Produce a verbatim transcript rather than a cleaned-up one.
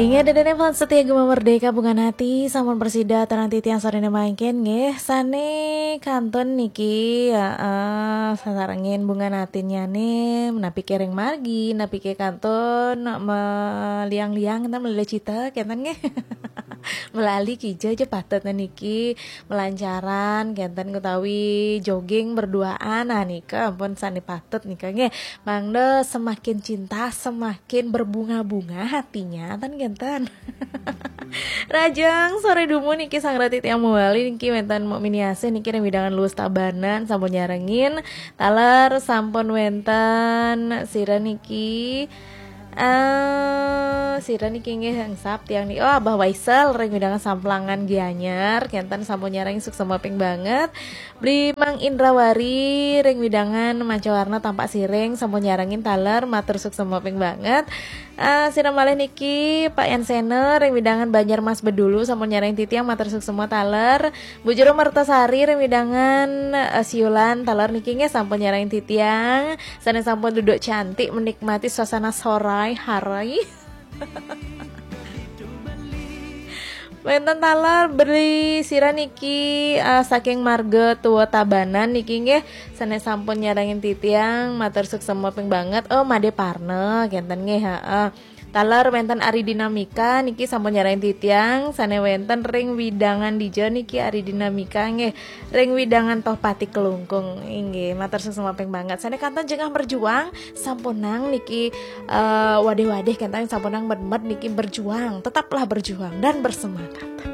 Inggih, ida dané fans setia Gema Merdeka, Bunga Hati, sampun prasida aturang titiang saréné mangkin nggih, sané kantun niki, heeh, sasarengin Bunga Hatinnyané, napiké ring margi, napiké kantun meliang-liang, kénten, melila cita, kénten nggih. Melali kija ja patut niki, melancaran, kénten, utawi jogging berduaan, nah nika ampun sané patut nika nggih. Mangda semakin cinta, semakin berbunga-bunga hatinya, ten kénten. Rahajeng soré dumun niki, sareng titiang mawali niki wénten Mok Miniasih niki ring wewidangan Luwus Tabanan sampun nyarengin. Taler sampun wénten sira niki, eh, sira niki nggih engsap tiang niki. Oh, Abah Waisel ring wewidangan Samplangan Gianyar, kénten sampun nyarengin, suksma ping banget. Beli Mang Indrawari ring wewidangan Mancawarna Tampaksiring sampun nyarengin taler, matur suksma ping banget. Ah, sira malih niki Pak Yan Sena ring wewidangan Banjar Mas Bedulu sampun nyarengin titiang, matur suksma taler. Bu Jero Mertasari ring wewidangan, eh, Siulan taler niki nggih sampun nyarengin titiang. Sané sampun duduk cantik menikmati suasana sorai hari. Wénten taler beli sira niki, eh, saking marga Tua Tabanan niki nggih, sané sampun nyarengin titiang, matur suksma ping banget. Oh, Madé Parna, kénten nggih, heeh. Taler wénten Ari Dinamika niki sampun nyarengin titiang, sané wénten ring wewidangan dija niki Ari Dinamika nggih, ring wewidangan Tohpati Klungkung. Inggih, matur suksma ping banget. Sané kantun jengah berjuang, sampunang niki, eh, wadih-wadih, kénten sampunang med-med niki berjuang, tetaplah berjuang dan bersemangat.